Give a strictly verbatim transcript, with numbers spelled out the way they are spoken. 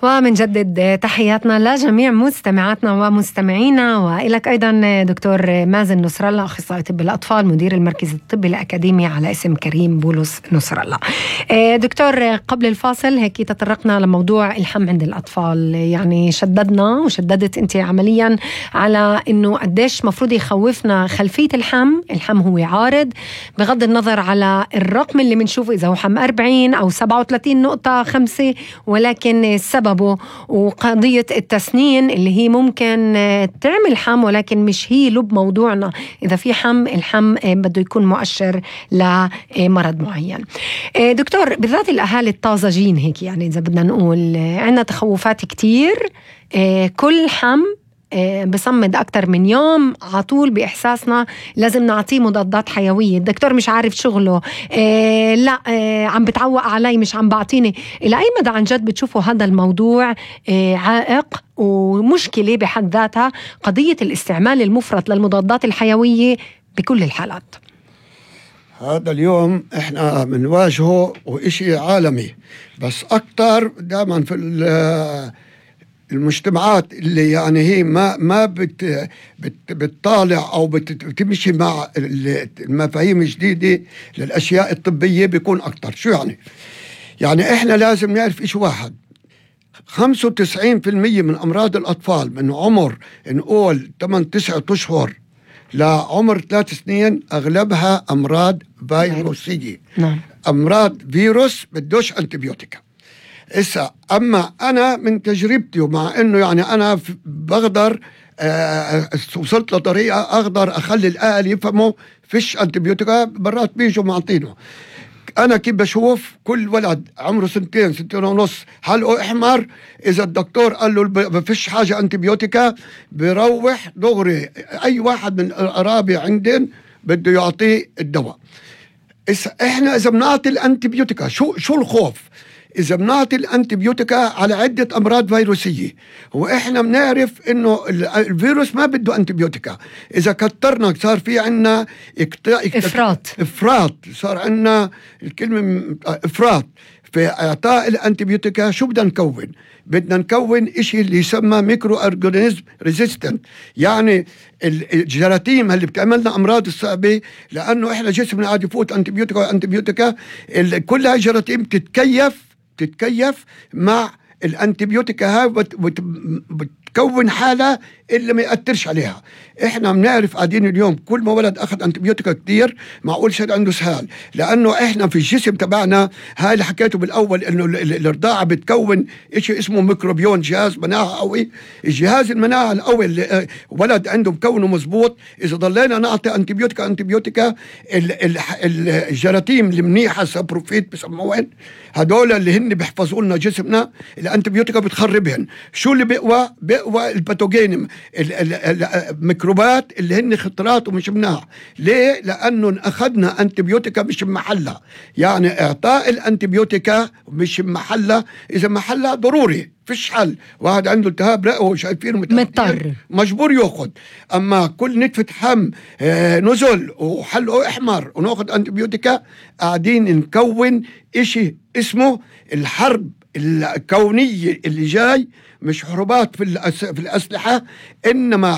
ومنجدد تحياتنا لجميع مستمعاتنا ومستمعينا، وإلك أيضا دكتور مازن نصر الله، أخصائي طب الأطفال، مدير المركز الطبي الأكاديمي على اسم كريم بولس نصر الله. دكتور، قبل الفاصل هيك تطرقنا لموضوع الحم عند الأطفال، يعني شددنا وشددت أنت عمليا على أنه قديش مفروض يخوفنا خلفية الحم. الحم هو عارض بغض النظر على الرقم اللي منشوفه، إذا هو حم أربعين أو سبعة وثلاثين نقطة خمسة، ولكن السبب وقضية التسنين اللي هي ممكن تعمل حم ولكن مش هي لب موضوعنا. إذا في حم، الحم بده يكون مؤشر لمرض معين. دكتور، بالذات الأهالي الطازجين هيك، يعني إذا بدنا نقول عنا تخوفات كتير، كل حم بصمد أكتر من يوم عطول بإحساسنا لازم نعطيه مضادات حيوية. الدكتور مش عارف شغله، إيه لا إيه عم بتعوق علي، مش عم بعطيني. إلى أي مدى عن جد بتشوفوا هذا الموضوع إيه عائق ومشكلة بحد ذاتها، قضية الاستعمال المفرط للمضادات الحيوية بكل الحالات؟ هذا اليوم احنا بنواجهه وإشي عالمي، بس أكتر دائما في المجتمعات اللي يعني هي ما ما بت بت بتطالع او بتمشي مع المفاهيم الجديده للاشياء الطبيه بيكون اكتر. شو يعني؟ يعني احنا لازم نعرف إشي واحد: خمسة وتسعين بالمية من امراض الاطفال من عمر نقول ثمانية تسعة اشهر لعمر ثلاث سنين اغلبها امراض فيروسيه. نعم. امراض فيروس بدوش انتبيوتيكا. إسا أما أنا من تجربتي، ومع إنه يعني أنا بقدر آه وصلت لطريقة أقدر أخلي الأهل يفهموا فيش أنتبيوتيكا، برات بيجوا معطينه. أنا كيف بشوف كل ولد عمره سنتين سنتين ونص حلقه أحمر، إذا الدكتور قال له ما فيش حاجة أنتبيوتيكا بيروح دغري أي واحد من القرابة عندن بده يعطيه الدواء. إسا إحنا إذا بنعطي الأنتبيوتيكا، شو شو الخوف؟ إذا بنعطي الأنتبيوتيكا على عدة أمراض فيروسية، وإحنا بنعرف إنه الفيروس ما بده أنتبيوتيكا. إذا كترنا صار في عنا إفراط إفراط صار عنا الكلمة إفراط في إعطاء الأنتبيوتيكا. شو بدنا نكون؟ بدنا نكون إشي اللي يسمى ميكرو أورجانيزم ريزيستنت، يعني الجراثيم اللي بتعملنا أمراض الصعبة، لأنه إحنا جسمنا قاعد يفوت أنتبيوتيكا أنتبيوتيكا كل هاي الجراثيم تتكيف تتكيف مع الأنتبيوتيكا هاي وبتكون حالة اللي ما يأثرش عليها. إحنا بنعرف قاعدين اليوم كل ما ولد أخذ أنتبيوتيكا كتير معقول شد عنده سهال، لأنه إحنا في الجسم تبعنا هاي اللي حكيته بالأول إنه الرضاعة بتكون إشي اسمه ميكروبيون، جهاز مناعة قوي. الجهاز المناعة القوي اللي ولد عنده مكونه مزبوط، إذا ضلينا نعطي أنتبيوتيكا أنتبيوتيكا الجراثيم المنيحة سابروفيت بسموهن، هدول اللي هن بيحفظوا لنا جسمنا، الأنتبيوتيكا بتخربهن. شو اللي بيقوى؟ بيقوى الباثوجين، الميكروبات اللي هن خطرات ومش مناح. ليه؟ لأنه أخذنا أنتبيوتيكا مش محلة، يعني إعطاء الأنتبيوتيكا مش محلة. إذا محلة ضروري فيش حل، واحد عنده التهاب رئوي وشايفينه مضطر مجبور ياخد. أما كل نتفة حم آه نزل وحلقه أحمر وناخد أنتبيوتيكا، قاعدين نكون إشي اسمه الحرب الكونية اللي جاي، مش حروبات في الأسلحة، إنما